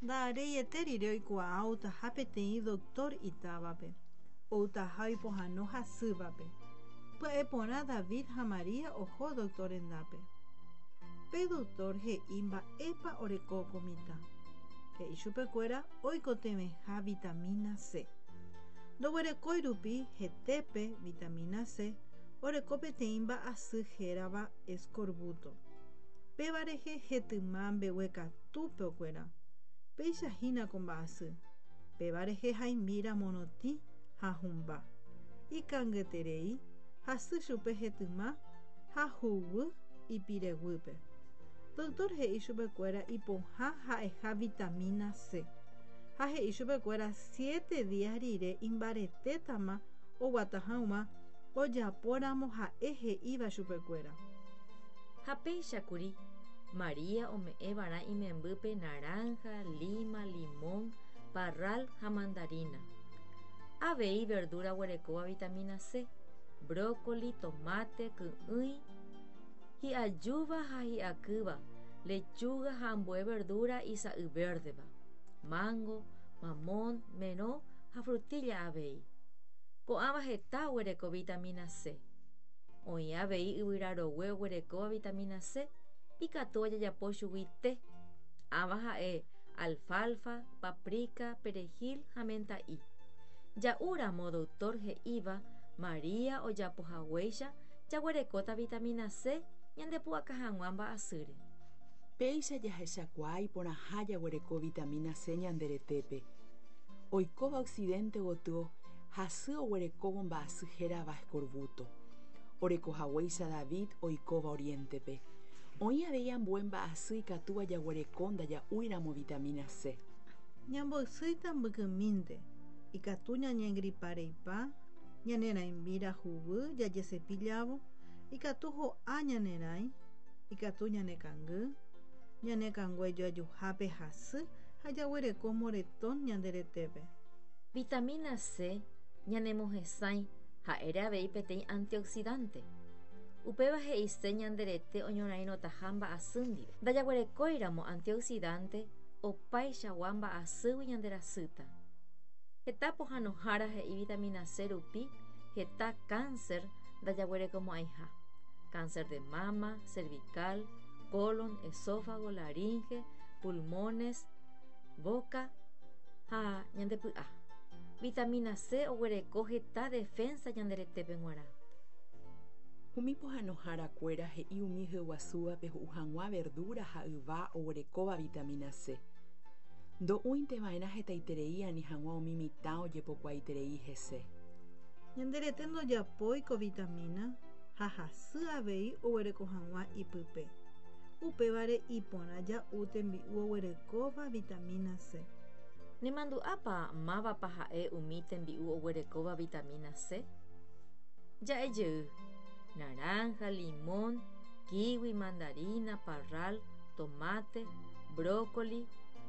Nda'areiete rire oikuaa outaha peteĩ doktór itávape, outaha oipohãno hasývape. Pya'e porã David ha María oho doktór rendápe. Pe doktór he'i mba'épa oreko ko mitã. He'i chupekuéra oikotevẽha vitamína C. Ndoguerekói rupi hetépe vitamína C, oreko peteĩ mba'asy hérava eskorvúto. Péva rehe hetyma mbeguekatúpe okuera. Péicha hína ko mba'asy. Péva rehe haimbíra morotĩ ha hũmba. Ikangyeterei, hasy chupe hetyma ha huguy ipireguýpe. Doctor he'i chupekuéra ipohã ha'eha vitamina C. Ha he'i chupekuéra siete días rire imbaretétama oguata hag̃ua ojapóramo ha'e he'íva chupekuéra. Ha péicha kuri, María ome'ẽ va'erã imembýpe naranja, lima, limón, parral ha mandarina. Avei verdura oguerekóva vitamina C, brócoli, tomate, ky'ỹi, hi'ajúva ha hi'akýva, lechuga ha ambue verdura isa'y vérdeva, mango, mamón, merõ ha frutilla avei. Ko'ãva heta oguereko vitamina C. Oĩ avei yvyra rogue oguerekóva vitamina C, ikatúva jajapo chugui té. Ãva ha'e alfalfa, paprika, perejil ha menta'i. Ja'úramo doctor he'íva María ojapohaguéicha jaguerekóta vitamina C ñandepu'aka hag̃ua mba'asýre. Péicha jahechakuaa iporãha jaguereko vitamina C ñande retépe. Oikóva occidente gotyo hasy oguerekóvo mba'asy hérava escorbuto. Oreko haguéicha David oikóva oriente-pe. Oĩ avei ambue mba'asy ikatúva jaguereko ndaja'úiramo vitamina C. Ñamboysýita mbykymínte, ikatu ñañengripa reipa, ñane rãimbíra huguy jajesepillávo, ikatu ho'a ñane rãi, ikatu ñane kangy, ñane kangue joajuhápe hasy ha jaguereko moretón ñande retépe. Vitamina C ñanemohesãi ha'ére avei peteĩ antioxidante. Upéva he'ise ñande rete oñorairõtaha mba'asy ndive. Ndajaguerekóiramo antioxidante opaichagua mba'asýgui ñande rasýta. Heta pohãnohára he'i vitamina C rupi heta cáncer ndajaguerekomo'ãiha, cáncer de mama, cervical, colon, esófago, laringe, pulmones, boca ha ñande py'a. Vitamina C oguereko heta defensa ñande retépe g̃uarã. Umi pohãnohárakuéra he'i umi hyeguasúvape ho'u hag̃ua verdura ha yva oguerekóva vitamina C. Ndo'úinte va'erã hetaiterei ani hag̃ua umi mitã ojepokuaaiterei hese. Ñande rete ndojapói ko vitamina ha hasy avei oguereko hag̃ua ipype. Upévare iporã ja'u tembi'u oguerekóva vitamina C. Nemandu'ápa mávapa ha'e umi tembi'u oguerekóva vitamina C? Ja'e jey, naranja, limón, kiwi, mandarina, parral, tomate, brócoli,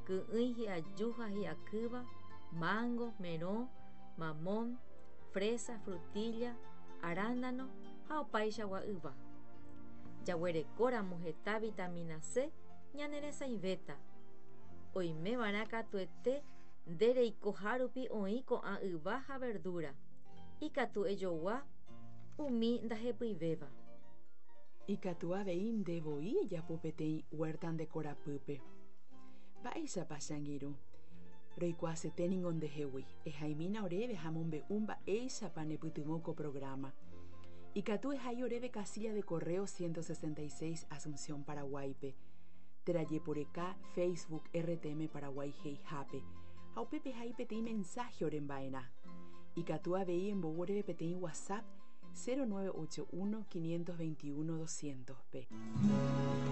ky'ỹi hi'aju ha hi'akýva, mango, merõ, mamón, fresa, frutilla, arándano ha opaichagua yva. Jaguerekóramo heta vitamina C ñaneresãivéta. Oimeva'erã katuete nde reikoha rupi oĩ ko'ã yva ha verdura. Ikatu ejogua umi ndahepyivéva. Ikatu avei nde voi ejapo peteĩ huerta nde korapýpe. Mba'éichapa che angirũ? Roikuaasete ningo ndehegui. Ehaimína oréve ha mombe'u mba'éichapa nepytyvõ ko programa. Ikatu ehai oréve casilla de correo 166 Asunción, Paraguáipe. Térã jeporeka Facebook RTM Paraguay he'ihápe ha upépe ehai peteĩ mensaje oremba'erã. Ikatu avei embou oréve peteĩ WhatsApp 0981 521 200-pe.